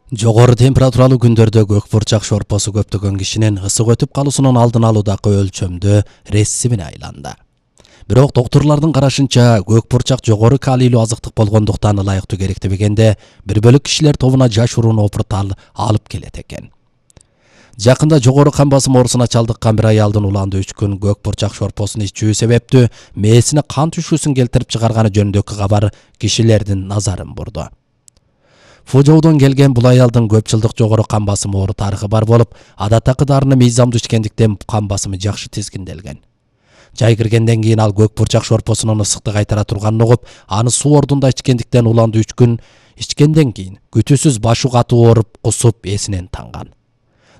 Жогору температуралуу күндөрдө көк бурчак шорпосу көптөгөн кишинин ысык өтүп калуусунун алдын алуудагы өлчөмдүү рессимине айланды. Бирок доктурлардын карашынча көк бурчак жогору калийлүү азыктык болгондуктан ылайыктуу керектебегенде бир бөлүк кишилер тобуна жаш уруун опуртал алып келет экен. Жакында жогору кан басым оорусуна чалдыккан бир аялдын уланды 3 күн көк бурчак шорпосун ичүү себептүү мээсине кан түшүүсүн келтирип чыгарганы жөнүндөгү кабар кишилердин назарын бурду. Фужоудон келген бул аялдын көп жылдык жогору кан басым оору тарыхы бар болуп, адаттагы дарыны мыйзамдуу ичкендиктен кан басымы жакшы тизгинделген. Жай киргенден кийин ал көк бурчак шорпосунун ысыкты кайтара турганын угуп, аны суу ордунда ичкендиктен уланды 3 күн ичкенден кийин күтүүсүз башы катуу ооруп, кусуп эсинен танган.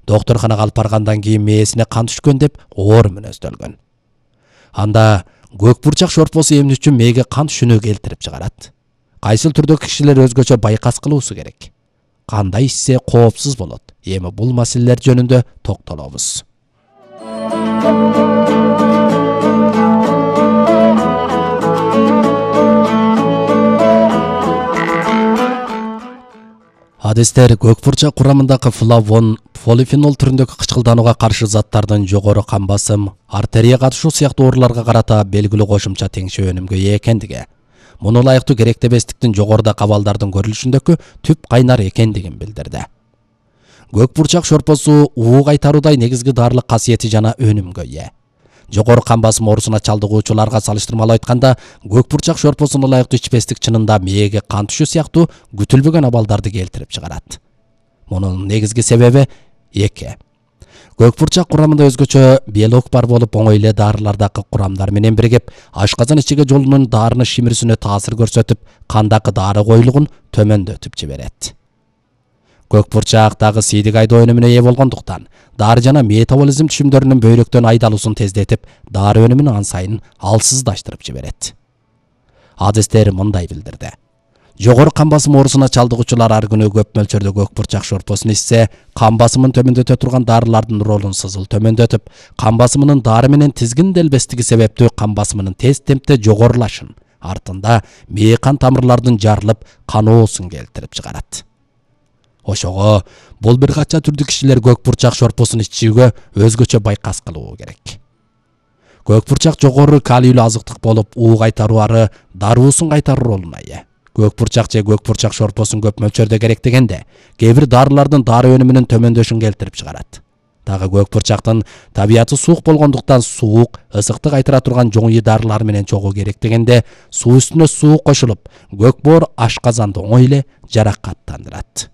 Докторканага алып баргандан кийин мээсине кан түшкөн деп оор мүнөздөлгөн. Анда көк бурчак шорпосу эмне үчүн мээге кан түшүүнү келтирип чыгарат? Кайсыл түрдөгү кишилер өзгөчө байкас кылуусу керек? Кандай ичсе коопсуз болот? Эми бул маселелер жөнүндө токтолобуз. Адистер көк бурчак курамындагы флавон, полифенол түрүндөгү кычкылданууга каршы заттардын жогору кан басым, артерия катышуу сыяктуу ооруларга карата белгилүү кошумча теңшөө өнүмгө ээ экендиги, муну ылайыктуу керектебестиктин жогоруда абалдардын көрүлүшүндөгү түп кайнар экендигин билдирди. Көк бурчак шорпосу уу кайтаруудай негизги дарылык касиети жана өнүмгө ээ. Жогору кан басым оорусуна чалдыгуучуларга салыштырмалуу айтканда, көк бурчак шорпосун ылайыктуу ичпестик чынында мээге кан түшүү сыяктуу күтүлбөгөн абалдарды келтирип чыгарат. Мунун негизги себеби эки. Көк бурчак курамында өзгөчө белок бар болуп, оңой эле дарылардагы курамдар менен биригип, ашказан ичиге жолунун дарыны шимирүүсүнө таасир көрсөтүп, кандагы дары коюлугун төмөндөтүп жиберет. Көк бурчак дагы сийдик айдоо өнүмүнө ээ болгондуктан, дары жана метаболизм түшүмдөрүнүн бөйрөктөн айдалуусун тездетип, дары өнүмүн ан сайын алсыздаштырып жиберет. Адистер мындай билдирди. Жогору кан басым оорусуна чалдыгуучулар ар күнү көп мөлчөрдө көк бурчак шорпосун ичсе, кан басымын төмөндөтө турган дарылардын ролун сызыл төмөндөтүп, кан басымынын дары менен тизгинделбестиги себептүү кан басымынын тез темпте жогорулашын, артында мээ кан тамырлардын жарылып, каноосун келтирип чыгарат. Ошого бул бир кача түрдүү кишилер көк бурчак шорпосун ичүүгө өзгөчө байкас кылуу керек. Көк бурчак жогору калийлүү азыктык болуп, уу кайтаруу ары даруусун кайтаруу ролуна ээ. Көк бурчак же көк бурчак шорпосун көп мөлчөрдө керектегенде, кээ бир дарылардын дары өнүмүнүн төмөндөшүн келтирип чыгарат. Дагы көк бурчактын табияты суук болгондуктан суук, ысыкты кайтара турган жоңуй дарылар менен чогуу керектегенде, суу үстүнө суу кошулуп, көк боор ашказанды оңой эле жаракаттандырат.